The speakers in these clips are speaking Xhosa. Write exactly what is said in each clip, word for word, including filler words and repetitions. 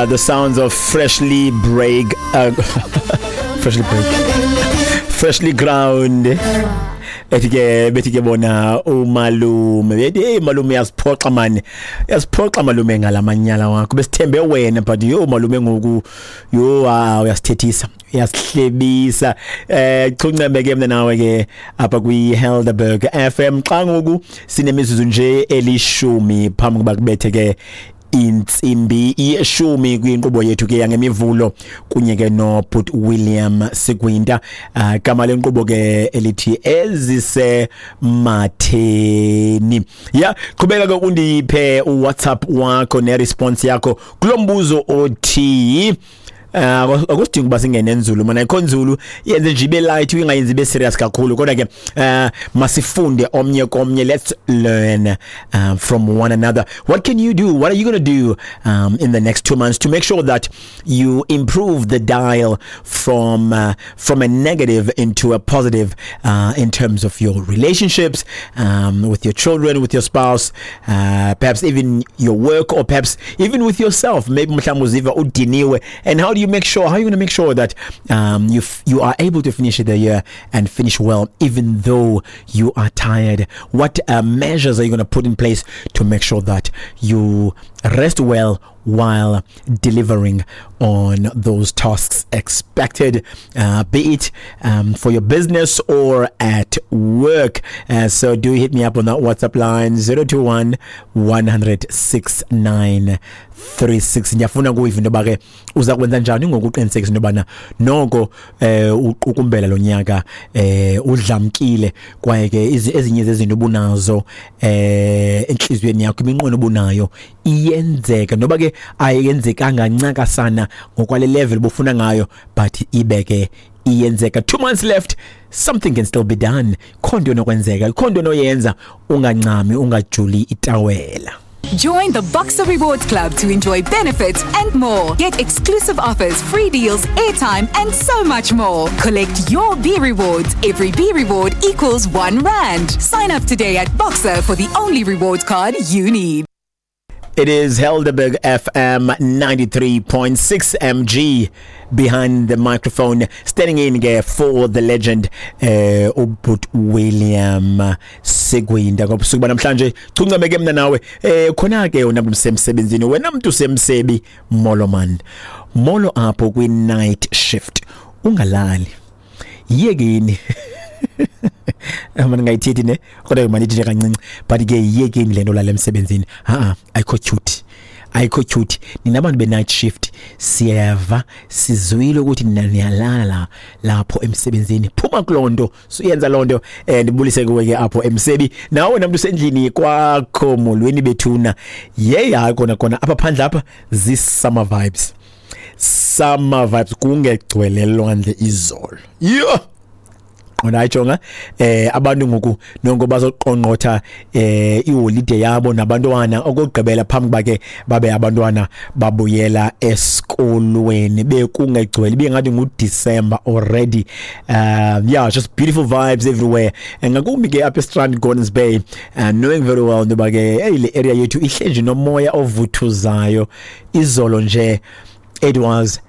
Uh, the sounds of freshly break, uh, freshly break, freshly ground. Ethi ke bethi ke bona umalume, bethi, "Hey malume, uyasiphoxa mani, uyasiphoxa malume ngalamanyala wakho. Besithembe wena, but yo malume, ngoku yo, ah, uyasithethisa, uyasihlebisa." eh chuncembe ke mina nawe ke apha kwi Helderberg F M xa ngoku sinemizuzu nje elishumi phambi kuba kubethe ke intsimbi yeshumi kwinkqubo yethu ke yangemivulo kunye ke no Bhut William Sigwinta. uh, gama lenkqubo ke elithi Ezise Matheni. Ya, qhubeka ke undiphe uWhatsApp wakho ne response yakho kulombuzo othi, Uh, akusidingi ukuba singene nzulu mana, ayikho nzulu, yenze nje ibe light, ingayenzi ibe serious kakhulu, kodwa ke uh, masifunde omnye komnye. Let's learn uh, from one another. What can you do? What are you going to do um, in the next two months to make sure that you improve the dial from uh, from a negative into a positive uh, in terms of your relationships um, with your children, with your spouse, uh, perhaps even your work, or perhaps even with yourself? Maybe mhlawumbe uziva udiniwe, and how do you make sure how are you going to make sure that um, you f- you are able to finish the year and finish well even though you are tired? What uh, measures are you going to put in place to make sure that you rest well while delivering on those tasks expected, uh, be it um, for your business or at work? Uh, so do hit me up on that WhatsApp line, zero two one one hundred six nine three six. Ndiyafuna kuyiva into yoba ke uza kwenza njani ngokuqinisekisa into yobana noko eh uqukumbela lo nyaka eh udlamkile, kwaye ke ezinye zezinto obunazo eh enhliziyweni yakho, iminqweno obunayo iyenzeka, noba ke ayenzekanga ncakasana ngokwale level bufuna ngayo, but ibe ke iyenzeka. Two months left, something can still be done. Khonto enokwenzeka, khonto onoyenza, ungancami, ungajuli itawela. Join the Boxer Rewards Club to enjoy benefits and more. Get exclusive offers, free deals, airtime, and so much more. Collect your B rewards. Every B reward equals one rand. Sign up today at Boxer for the only rewards card you need. It is Helderberg F M ninety-three point six. M G behind the microphone, standing in ke for the legend, eh uBhut William Sigwinda, ngobusuku banamhlanje. Chuncame ke mina nawe. eh khona ke wena msemsebenzini, wena umuntu semsebi, molo man, molo apho kwi night shift, ungalali, yekini. Manje ngayithethi ne, kodwa manithi nje kancinci, but ke yekeni lento lala emsebenzini. Ha, ayikho cute, ayikho cute. Nina abantu be night shift, siyeva, sizwile ukuthi nina niyalala lapho emsebenzini. Phuma kulonto, suyenza lonto. eh ndibulise kuwe ke apho emsebi, nawe namuntu usendlini kwakho, molweni bethuna. Yey, hayi kona kona apha phandle apha zi summer vibes, summer vibes, kungegcwele lwandle izolo. Yo qona, ayijonga eh abantu ngoku nonke bazoqongqotha eh iholiday yabo nabantwana okugqibela phambi kwake babe abantwana babuyela esikolweni. Bekungegcwele, bengathi nguDecember already. um yeah just beautiful vibes everywhere, and ngakumbi ke apha eStrand, Gordons Bay, uh, knowing very well ngoba ke hey, le area yethu ihle nje nomoya ovuthuzayo. Izolo nje it was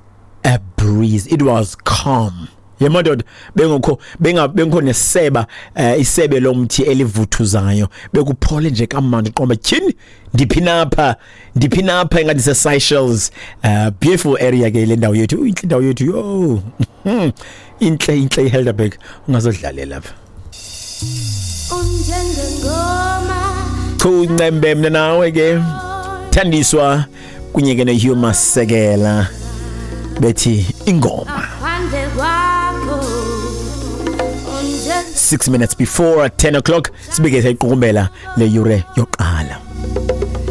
a breeze, it was calm. Yemadoda, bengekho benga bengekho neseba, eh, isebe lomthi elivuthuzayo, bekuphole nje kamnandi, qomba tyhini, ndiphi napha, ndiphi napha, engathi se Seychelles. uh, beautiful area ke le ndawo yethu, inhle indawo yethu yo. Inhle, inhle iHelderberg, ungazodlalela lapha. Unjengengoma. Chuncembe mina nawe ke, Thandiswa kunye ke noHugh Masekela, bethi Ingoma. Phandle kwakho unje six minutes before ten o'clock, sibike seyiqukumbela le yure yoqala.